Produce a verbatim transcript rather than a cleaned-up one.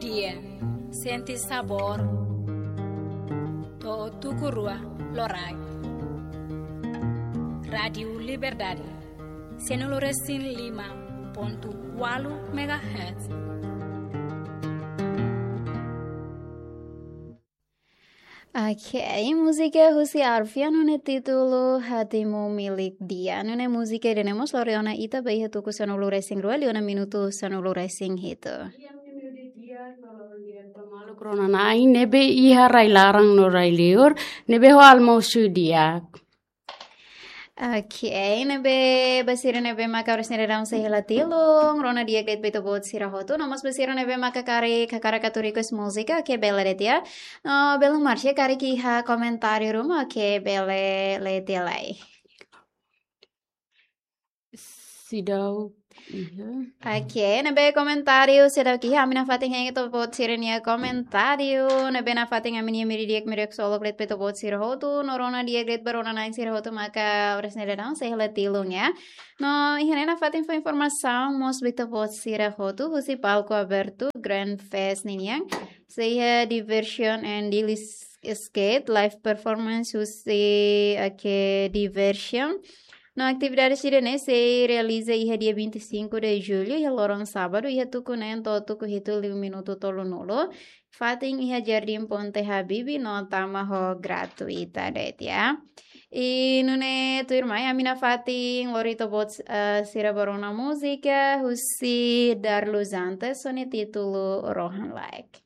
Dia, sente sabór to'o tuku rua loraik. Rádiu Liberdade, sanulu resin lima pontu ualu megahertz. Ok, múzika husi Arvia, nune'e títulu Hatimu Milik Dia. Nune'e múzika ida-ne'e mós lori ona ita ba iha tuku sanulu resin rua liu ona minutu sanulu resin hitu. Maluk rona na'in ne'ebé iha rai laran no rai liur, ne'ebé ho almosu di'ak. Ok, ne'ebé ba sira ne'ebé maka oras ne'e daudaun sei hela tilun, rona di'ak de'it ba ita-boot sira hotu, no mós ba sira ne'ebé maka karik hakarak atu request múzika, ok, bele de'it ya. No, belun Marcia, karik iha komentáriu ruma, ok, bele lee tiha lai. Seidauk iha. Ok, ne'ebé komentáriu seidauk iha, ami nafatin hein ita-boot sira-nia komentáriu, ne'ebé nafatin ami-nia mehi di'ak, mehi di'ak ksolok de'it ba ita-boot sira hotu, no rona di'ak de'it ba rona na'in sira hotu maka oras ne'e daudaun sei hela tilun ya. No, iha ne'e nafatin fó informasaun mós ba ita-boot sira hotu, husi palku abertu Grand Fest ninian, sei iha Diversion and Daily Skate, live performance husi, ok, Diversion. No, atividade sira-ne'e sei realiza iha dia vinte e cinco de julho, iha loron sábadu, iha tuku neen to'o tuku hitu liu minutu tolunulu. Fatin iha Jardim Ponte Habibie, no tama ho gratuita de'it ya. I nune'e tuirmai, ami nafatin lori ita-boot, eh, sira ba rona múzika husi Darlus Antes, ho nia títulu Rohan Laek.